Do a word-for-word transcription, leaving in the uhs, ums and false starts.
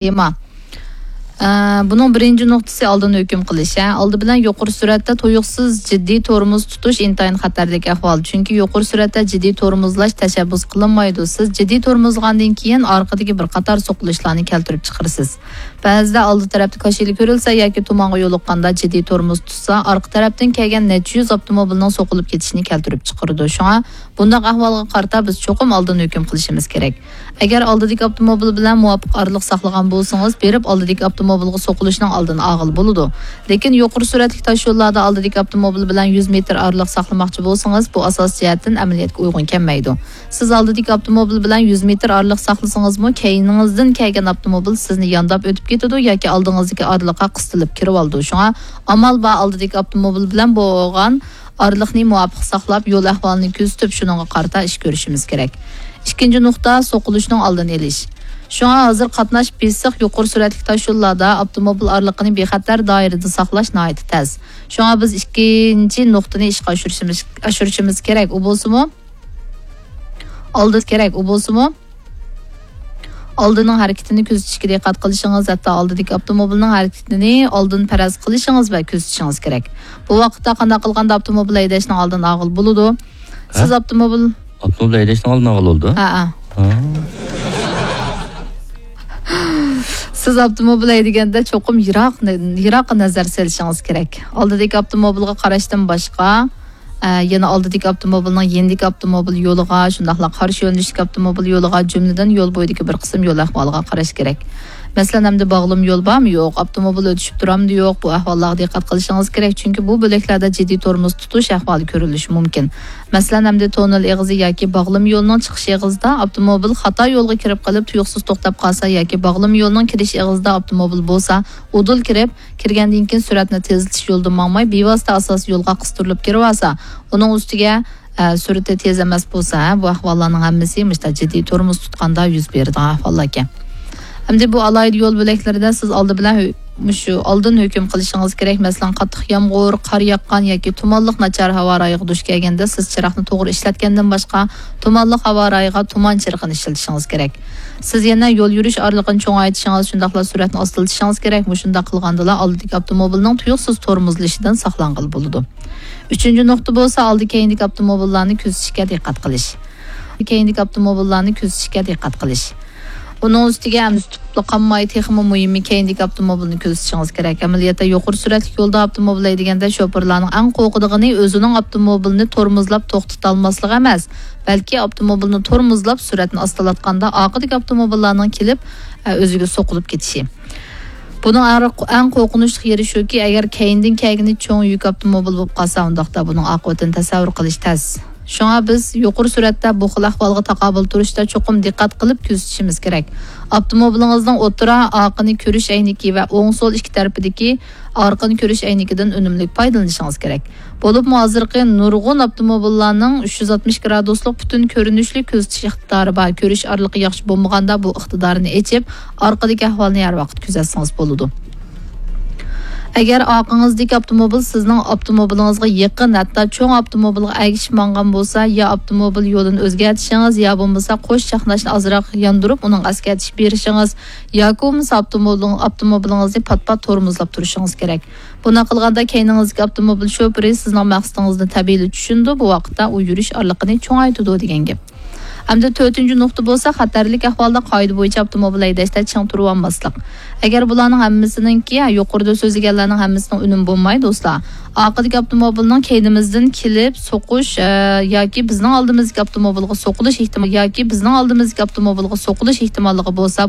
تېما. ئە، بۇنىڭ بىرىنچى نۇقتىسى ئالدىن ھۆكۈم قىلىش. ھە، ئالدى بىلەن يۇقىرى سۈرئەتتە تۇيۇقسىز جىددىي تورمۇز تۇتۇش ئىنتايىن خەتەرلىك ئەھۋال. چۈنكى يۇقىرى سۈرئەتتە جىددىي تورمۇزلاش تەشەببۇس قىلىنمايدۇ. سىز جىددىي تورمۇزلىغاندىن كېيىن ئارقىدىكى بىر قاتار سوقۇلۇشلارنى كەلتۈرۈپ چىقىرىسىز. بەزىدە ئالدى تەرەپتە كاشىلا كۆرۈلسە ياكى تۇمانغا يولۇققاندا جىددىي تورمۇز تۇتسا، ئارقا تەرەپتىن كەلگەن نەچچە يۈز ئاپتوموبىلنىڭ سوقۇلۇپ كېتىشىنى كەلتۈرۈپ چىقىرىدۇ. شۇڭا بۇنداق ئەھۋالغا قارىتا بىز چوقۇم ئالدىن ھۆكۈم قىلىشىمىز كېرەك. ئەگەر ئالدىدىكى ئاپتوموبىل بىلەن مۇۋاپىق ئارىلىق ساقلىغان بولسىڭىز، بېرىپ ئالدىدىكى ئاپتوموبىلغا سوقۇلۇشنىڭ ئالدىنى ئالغىلى بولىدۇ. لېكىن يۇقىرى سۈرئەتلىك تاشيوللاردا ئالدىدىكى ئاپتوموبىل بىلەن يۈز مېتىر ئارىلىق ساقلىماقچى بولسىڭىز، بۇ ئاساسىي جەھەتتىن ئەمەلىيەتكە ئۇيغۇن كەلمەيدۇ. سىز ئالدىدىكى ئاپتوموبىل بىلەن يۈز مېتىر ئارىلىق ساقلىسىڭىزمۇ، كەينىڭىزدىن كەلگەن ئاپتوموبىل سىزنى يانداپ ئۆتۈپ كېتىدۇ ياكى ئالدىڭىزدىكى ئارىلىققا قىستىلىپ كىرىۋالىدۇ. شۇڭا ئامال بار ئالدىدىكى ئاپتوموبىل بىلەن بولغان ئارىلىقنى مۇۋاپىق ساقلاپ، يول ئەھۋالىنى كۆزىتىپ، شۇنىڭغا قارىتا ئىش كۆرۈشىمىز كېرەك. ئىككىنچى نۇقتا، سوقۇلۇشنىڭ ئالدىنى ئېلىش. شۇڭا ھازىر قاتناش بېسىق يۇقىرى سۈرئەتلىك تاشيوللاردا ئاپتوموبىل ئارىلىقىنى بىخەتەر دائىرىدە ساقلاش ناھايىتى تەس. شۇڭا بىز ئىككىنچى نۇقتىنى ئىشقا ئاشۇرۇشىمىز، ئاشۇرۇشىمىز كېرەك. ئۇ بولسىمۇ، ئالدى كېرەك، ئۇ بولسىمۇ، ئالدىنىڭ ھەرىكىتىنى كۆزىتىشكە دىققەت قىلىشىڭىز، ھەتتا ئالدىدىكى ئاپتوموبىلنىڭ ھەرىكىتىنى ئالدىن پەرەز قىلىشىڭىز ۋە كۆزىتىشىڭىز كېرەك. بۇ ۋاقىتتا قانداق قىلغاندا ئاپتوموبىل ھەيدەشنىڭ ئالدىنى ئالغىلى بولىدۇ؟ ھە؟ سىز ئاپتوموبىل ئاپتوموبىل ھەيدەشنىڭ ئالدىنى ئالغىلى بولىدۇ؟ ھە، ھە. ھە. سىز ئاپتوموبىل ھەيدىگەندە چوقۇم يىراق، يىراققا نەزەر سېلىشىڭىز كېرەك. ئالدىدىكى ئاپتوموبىلغا قاراشتىن باشقا، ئە، يەنە ئالدىدىكى ئاپتوموبىلنىڭ يېنىدىكى ئاپتوموبىل يولىغا، شۇنداقلا قارشى يۆنىلىشتىكى ئاپتوموبىل يولىغا، جۈملىدىن يول بويىدىكى بىر قىسىم يول ئەھۋالىغا قاراش كېرەك. مەسىلەن، ئەمدى باغلىما يول بارمۇ يوق، ئاپتوموبىل ئۆتۈشۈپ تۇرامدۇ يوق، بۇ ئەھۋاللارغا دىققەت قىلىشىڭىز كېرەك، چۈنكى بۇ بۆلەكلەردە جىددىي تورمۇز تۇتۇش ئەھۋالى كۆرۈلۈشى مۇمكىن. مەسىلەن، ئەمدى توننېل ئېغىزى ياكى باغلىما يولنىڭ چىقىش ئېغىزىدا ئاپتوموبىل خاتا يولغا كىرىپ قېلىپ، تۇيۇقسىز توختاپ قالسا ياكى باغلىما يولنىڭ كىرىش ئېغىزىدا ئاپتوموبىل بولسا، ئۇدۇل كىرىپ، كىرگەندىن كېيىن سۈرئەتنى تېزلىتىش يولىدىن ماڭماي، بىۋاسىتە ئاساسىي يولغا قىستۇرۇلۇپ كىرىۋالسا، ئۇنىڭ ئۈستىگە، ئە، سۈرئىتى تېز ئەمەس بولسا، ھە، بۇ ئەھۋاللارنىڭ ھەممىسى مۇشۇنداق جىددىي تورمۇز تۇتقاندا يۈز بېرىدىغان ئەھۋاللاركەن. ئەمدى بۇ ئالاھىدە يول بۆلەكلىرىدە سىز ئالدى بىلەن ھۆ-، مۇشۇ ئالدىن ھۆكۈم قىلىشىڭىز كېرەك. مەسىلەن، قاتتىق يامغۇر، قار ياغقان ياكى تۇمانلىق ناچار ھاۋا رايىغا دۇچ كەلگەندە، سىز چىراغنى توغرا ئىشلەتكەندىن باشقا، تۇمانلىق ھاۋا رايىغا تۇمان چىرىغىنى ئىشلىتىشىڭىز كېرەك. سىز يەنە يول يۈرۈش ئارىلىقىنى چوڭايتىشىڭىز، شۇنداقلا سۈرئەتنى ئاستىلىتىشىڭىز كېرەك. مۇشۇنداق قىلغاندىلا ئالدىدىكى ئاپتوموبىلنىڭ تۇيۇقسىز تورمۇزلىشىدىن ساقلانغىلى بولىدۇ. ئۈچىنچى نۇقتا بولسا، ئالدى كەينىدىكى ئاپتوموبىللارنى كۆزىتىشكە دىققەت قىلىش. كەينىدىكى ئاپتوموبىللارنى كۆزىتىشكە دىققەت قىلىش. ئۇنىڭ ئۈستىگە ئەمدى تۇتۇپلا قالماي، تېخىمۇ مۇھىمى كەينىدىكى ئاپتوموبىلنى كۆزىتىشىڭىز كېرەك. ئەمەلىيەتتە يۇقىرى سۈرئەتلىك يولدا ئاپتوموبىل ھەيدىگەندە شوپۇرلارنىڭ ئەڭ قورقىدىغىنى ئۆزىنىڭ ئاپتوموبىلىنى تورمۇزلاپ توختىتالماسلىقى ئەمەس، بەلكى ئاپتوموبىلنى تورمۇزلاپ سۈرئەتنى ئاستىلاتقاندا ئارقىدىكى ئاپتوموبىللارنىڭ كېلىپ، ئە، ئۆزىگە سوقۇلۇپ كېتىشى. بۇنىڭ ئەڭ، ئەڭ قورقۇنچلۇق يېرى شۇكى، ئەگەر كەينىدىن كەلگىنى چوڭ يۈك ئاپتوموبىل بولۇپ قالسا، ئۇنداقتا بۇنىڭ ئاقىۋىتىنى تەسەۋۋۇر قىلىش تەس. شۇڭا بىز يۇقىرى سۈرئەتتە بۇ خىل ئەھۋالغا تاقابىل تۇرۇشتا چوقۇم دىققەت قىلىپ كۆزىتىشىمىز كېرەك. ئاپتوموبىلىڭىزنىڭ ئوتتۇرا، ئارقىنى كۆرۈش ئەينىكى ۋە ئوڭ سول ئىككى تەرىپىدىكى ئارقىنى كۆرۈش ئەينىكىدىن ئۈنۈملۈك پايدىلىنىشىڭىز كېرەك. بولۇپمۇ ھازىرقى نۇرغۇن ئاپتوموبىللارنىڭ ئۈچ يۈز ئاتمىش گرادۇسلۇق پۈتۈن كۆرۈنۈشلۈك كۆزىتىش ئىقتىدارى بار. كۆرۈش ئارىلىقى ياخشى بولمىغاندا بۇ ئىقتىدارنى ئېچىپ، ئارقىدىكى ئەھۋالنى ھەر ۋاقىت كۆزەتسىڭىز بولىدۇ. ئەگەر ئارقىڭىزدىكى ئاپتوموبىل سىزنىڭ ئاپتوموبىلىڭىزغا يېقىن، ھەتتا چوڭ ئاپتوموبىلغا ئەگىشىپ ماڭغان بولسا، يا ئاپتوموبىل يولىنى ئۆزگەرتىشىڭىز يا بولمىسا قوش چاقناشنى ئازراق ياندۇرۇپ، ئۇنىڭغا ئەسكەرتىش بېرىشىڭىز ياكى بولمىسا ئاپتوموبىلىڭ-، ئاپتوموبىلىڭىزنى پات-پات تورمۇزلاپ تۇرۇشىڭىز كېرەك. بۇنداق قىلغاندا كەينىڭىزدىكى ئاپتوموبىل شوپۇرى سىزنىڭ مەقسىتىڭىزنى تەبىئىيلا چۈشىنىدۇ، بۇ ۋاقىتتا ئۇ يۈرۈش ئارىلىقىنى چوڭايتىدۇ دېگەن گەپ. ئەمدى تۆتىنچى نۇقتا بولسا، خەتەرلىك ئەھۋالدا قائىدە بويىچە ئاپتوموبىل ھەيدەشتە چىڭ تۇرۇۋالماسلىق. ئەگەر بۇلارنىڭ ھەممىسىنىڭكى، يۇقىرىدا سۆزلىگەنلەرنىڭ ھەممىسىنىڭ ئۈنۈمى بولماي، دوستلار، ئارقىدىكى ئاپتوموبىلنىڭ كەينىمىزدىن كېلىپ سوقۇش، ئە، ياكى بىزنىڭ ئالدىمىزدىكى ئاپتوموبىلغا سوقۇلۇش ئېھتىمال-، ياكى بىزنىڭ ئالدىمىزدىكى ئاپتوموبىلغا سوقۇلۇش ئېھتىماللىقى بولسا، بۇنداق